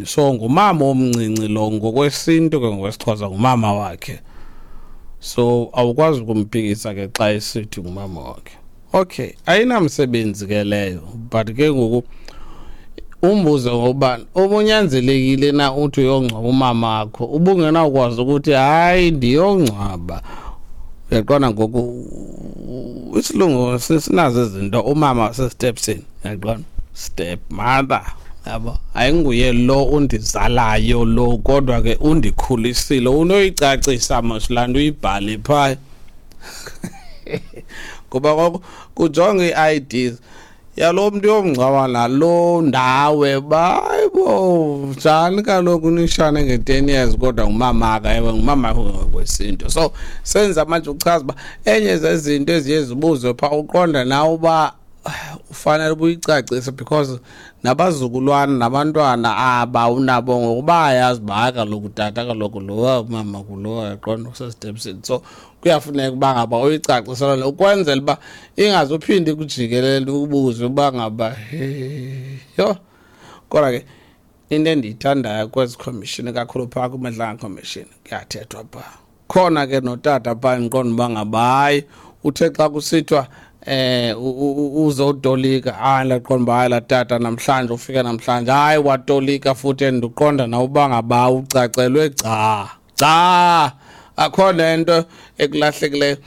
So ngumama omncinci lo ngokwesintu ke, ngokwesiXhosa ngumama wakhe, so awukwazi ukumphikisa ke xa esithi ngumama wakhe. Okay, ayinamsebenzi ke leyo, but ke ngoku umbuze ngoba ubunyanzelekile na uthi uyongcwaba umama wakho, ubungenawukwazi ukuthi hayi ndiyongcwaba. Uyaqonda ngoku isilungu sinazo izinto, umama wasestepsini, uyaqonda, step mother, yabo, ayinguye lo undizalayo lo, kodwa ke undikhulisile. Unoyicacisa mos laa nto, uyibhale phaya, ngoba koko kujonga ii-IDs yalo mntu yomngcwaba nalo ndawe. Bayibo njani kaloku nishane nge-10 years, kodwa ngumamaka? Ewe, ngumama ngokwesintu. So senza manje uchaza uba enye zezinto eziye zibuzwe phaa, uqonda nawe uba ufanele ubuyicacise, because nabazukulwana nabantwana aba unabo ngokuba ayazi uba hayi kaloku tata, kaloku lowa mama kulowa, yaqonda, usestepsini. So kuyafuneka uba ngaba uyicacisela le ukwenzela uba ingazuphinde ikujikelele ubuze uba ngaba yho. Kodwa ke into endiyithandayo kwezi commission kakhulu phaa kuMadlanga Commission, kuyathethwa phaa khona ke notata phaa, ndiqonda uba ngaba hayi, uthe xa kusithiwa uzotolika, hayi, ndaqonda uba hayi, laa tata namhlanje ufika namhlanje, hayi, watolika futhi, endiqonda nawe uba ngaba ucacelwe gca gca, akho nento ekulahlekileyo.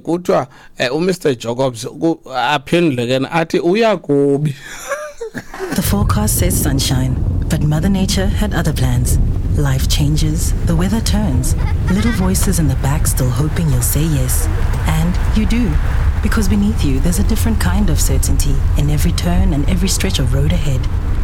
Kuthiwa uMr Jacobs aphendule ke athi uyakubi. The forecast says sunshine, but Mother Nature had other plans. Life changes, the weather turns, little voices in the back still hoping you'll say yes. And you do. Because beneath you, there's a different kind of certainty in every turn and every stretch of road ahead.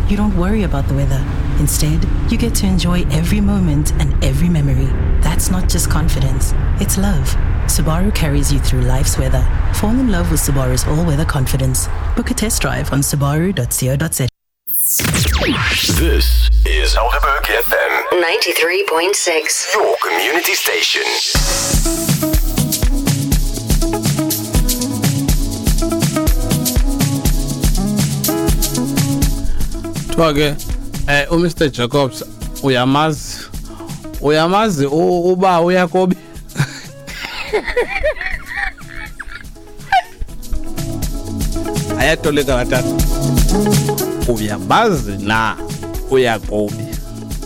You don't worry about the weather. Instead, you get to enjoy every moment and every memory. That's not just confidence, it's love. Subaru carries you through life's weather. Fall in love with Subaru's all weather confidence. Book a test drive on subaru.co.za. This is Helderberg FM 93.6. your community station. Kuthiwa ke uMr Jacobs uyamazi uba uyakobi. Ayatolika batata, uyamazi na uyakobi?